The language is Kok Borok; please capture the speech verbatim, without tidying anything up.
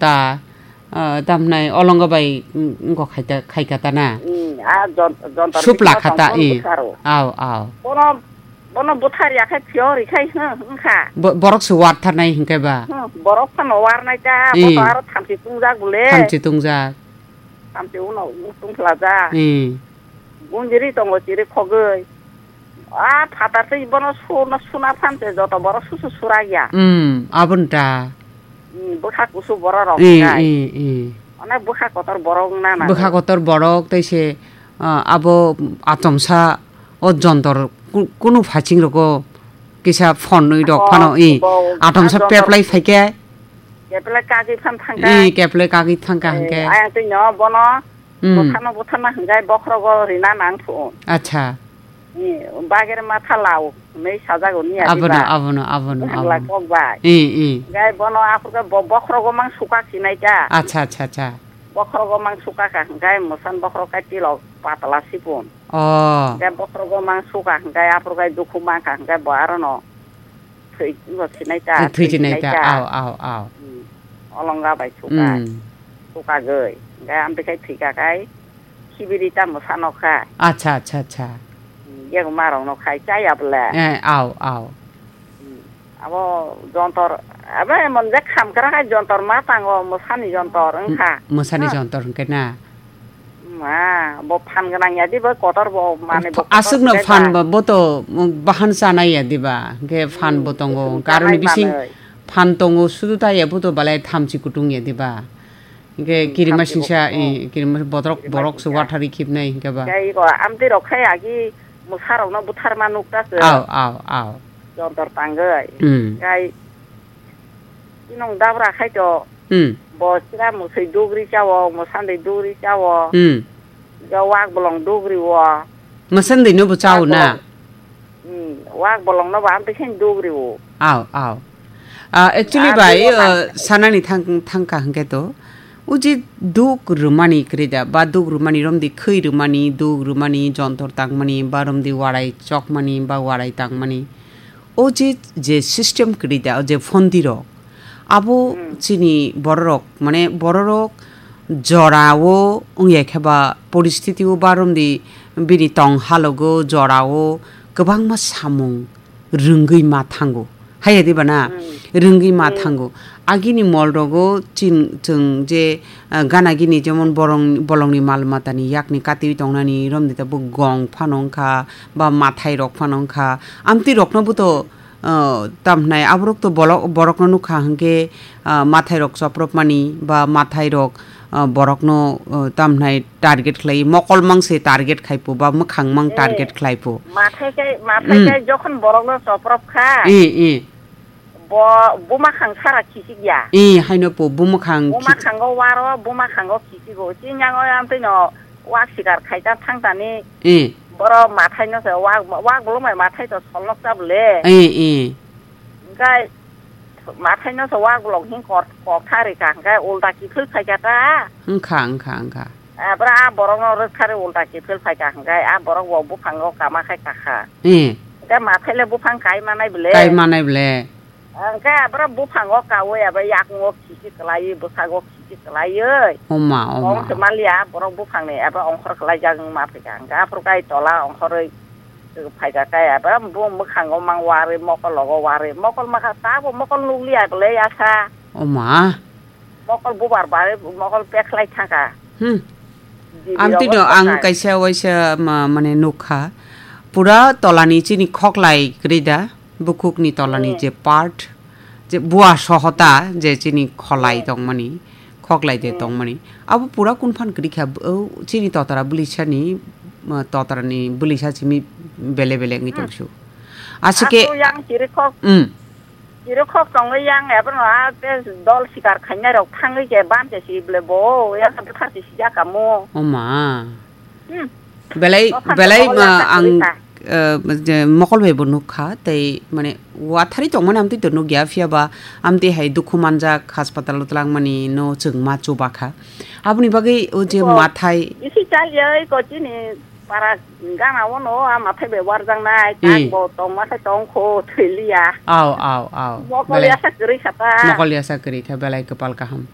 ta, ah, tamhnai olongo bai, mm, wngkha khaita, khaika ta na. Mm, a jon-, jontor Supla bisingma khata, tongphuru i. Bwtharo. Aw, aw. Bono, bono bwthar ya khai phiyori khai hwn, wngkha. Bo-, borok se wartharnai hinkhe ba. Hwn, borok phano warnai ta, I. Bono aro thamchi tungjak bole. Thamchi tungjak. Thamchi uno tungphlajak. I. Gunjiri tongo chiri khogwi. A phatar tei bono suna, suna phan se joto borok susu surak ya. Hmm, aboni ta. Hmm, bwkha kusu borok rok I, kai. I, i. Onek bwkha kotor borok wngna nango. Bwkha kotor borok tei se, ah, abo atomsa o jontor ku-, kunu phaching rogo kisa phonwi rok Phon, phano i. Bo, Atomsa a jontor peplai phaikhe. Keplai kagwi phan thangkha. I, keplai kagwi thangkha Eh, hwnkhe. Ayang twi no bono Hmm. Bwthano bwthana hwnkhe bokhrogo rina nang thung. Acha. Ni bagir matha lao, nei sajago ni Abono, adiba. Abono, abono, Bwkhwla abono. Kok bai. I, i. Gai bono aphurkhe bo-, bokhrogo mang suka sinai ta. Acha, acha, acha. Bokhrogo mang suka kha hwnkhe mwsan bokhro kai tilok patla sipun. Oh. Gai bokhrogo mang suka hwnkhe aphurkhe dukhu mang kha hwnkhe bo arono. Thwi, bo sinai ta, Thwi thwi sinai sinai ta, ta. Aw, aw, aw. Hmm. Olonga bai suka. Hmm. Suka goi. Gai amtwi khai thwika kai. Khibiri tamo sano kha. Acha, acha, acha. Hmm. Yego marong no khai chaya bole. Eh, aw, aw. Hmm. Abo jontor, abo emon je khamkra khai jontor ma tango, mwsani jontor wngkha. M-, mwsani Ha. Jontor hwnkhe na? Ma, bo phan gwnang ya di, bo kotor bo, mane bo Ph-, kotor aswkno khe phan ba. Bo, bo to, mm, bahan chanai ya di ba, hwnkhe phan Hmm, bo tongo, kutung hwnkhe aroni chanai bising manwi. Phan tongo, sudu ta ya bo to balai thamchi kutung ya di ba. Hwnkhe Hmm, kirima thamchi bo singsa, kutung. I, kirima botrok, Kirima borok se singsa. Wathari khibnai hwnkhe ba. Tei iko amtwi rok khai agi mwsarokno butharma nukta se. Aw, aw, aw. Jontor tangwi. Hmm. Khai Inong dabra khai to. Hmm. Bo sira musui dugri chawo, musandui dugri chawo. Hmm. Jo wak bolong dugri wo. Musandui no bo chawo Wak na? Bolong. Hmm. Wak bolong no ba amtwi khen dugri wo. Aw, aw. Ah, actually Ah, bai, dugri wo ah, na. Sanani thang, thangka hwnkhe to. Uji duk rwmani kwrwi da, ba duk rwmani romdi khwi rwmani, duk rwmani, jontor tangmani, ba romdi warai chokmani, ba warai tangmani. O je, je system kwrwi da, o je phondi rok, abo Hmm. chini bororok, mane bororok jorao wngya khe ba poristiti o ba romdi bini tong halogo jorao kwbangma samung rwngwi ma thango. Haiya diba na? Hmm. Rwngwi ma Hmm. thango. Agini mol rogo chin-, chwng je ah, gana gini jemon borong-, bolongni mal matani yakni katiwi tongnani romdi ta bo gong phano wngkha, ba mathai rok phano wngkha. Amtwi rokno bo to, ah, tamhnai aborok to bolok-, borokno nukha hwnkhe, ah, mathai rok chopropmani ba mathai rok, ah, borokno, ah, tamhnai target khlai, mokol mang se target khai po ba mwkhang mang Eh, target khlai po. Mathai kai, mathai Mm. Kai jokhon borokno choprop kha. Eh, eh. Bo buma khang sara kisik ya. Eh, haino po buma khang Buma kis- khango waro, buma khango kisigo. Chinyango yang tino wak sikar khaita thangtani. Eh. Boro mathai no se wak, wak bolong mai mathai to solnok ta bole. Eh, eh. Engkai mathai no se wak bolong hin kor, kok thari ka engkai ulta kiphil khai ka ta. Wngkha, wngkha, wngkha. Abra a borok no rwk thari ulta kiphil phai ka hwnkhe a borok bo buphang o kama khai kakha. Eh. Hwnkhe mathai le buphang kai manai bwle. Kai manai bwle. Hwnkhe abra buphang o kaui abo yakung o khisi kwlaiwi bwsag o khisi kwlaiwi. Oma, oma. Kong se maliya borok buphang ni abo ongkhor kwlaijak wng ma phaikha hwnkhe aphuru kai tola ongkhorwi phaikha kai abo bumung mwkhango mang warwi mokol logo warwi mokol makha tabo mokol nukliya bwle yasa. Oma. Mokol bubar bai mokol pekhlai thangkha. Hmm. Didi Amtwi rok no ang thangkha. Kaisa waisa ma-, mane nukha. Pura tolani chini khoklai kwrwi da, bukhukni tolani Hmm. Je part, je bua sohota, je chini kholai Hmm. Tongmani, khoklai je Hmm. Tongmani. Abo pura kunphan kwrwi kha, o chini totara bwlisani, ma, totarani bwlisa simi bele bele wngwi Hmm. Tongsu. Aswkhe Asu yang chiri khok. Hmm. Chiri khok tongwi yang ebono a te dol sikar khainai rok thangwi je ban je si ble bo yang buthar si sijak kamu. Oma. Hmm. Belai, Buphang belai, tongwi ma, yang ang, thangwi kha. Eh, je mokol bai bo nukha, tei, mane, wathari tongmani amtwi to nukya, phiya ba amtwi hai dukhu manjak, hospital o twlangmani no chwng ma chuba kha. Aboni bagwi o je Bo mathai isi chaliya oi ko chini para gana ono a mathai bai warjak nai, Hmm. Tak bo tongma khe tongkho thwiliya. Aw, aw, aw. Mokol Belai yasa kwrwi kha ta. Mokol yasa kwrwi kha, belai kwpal kaham.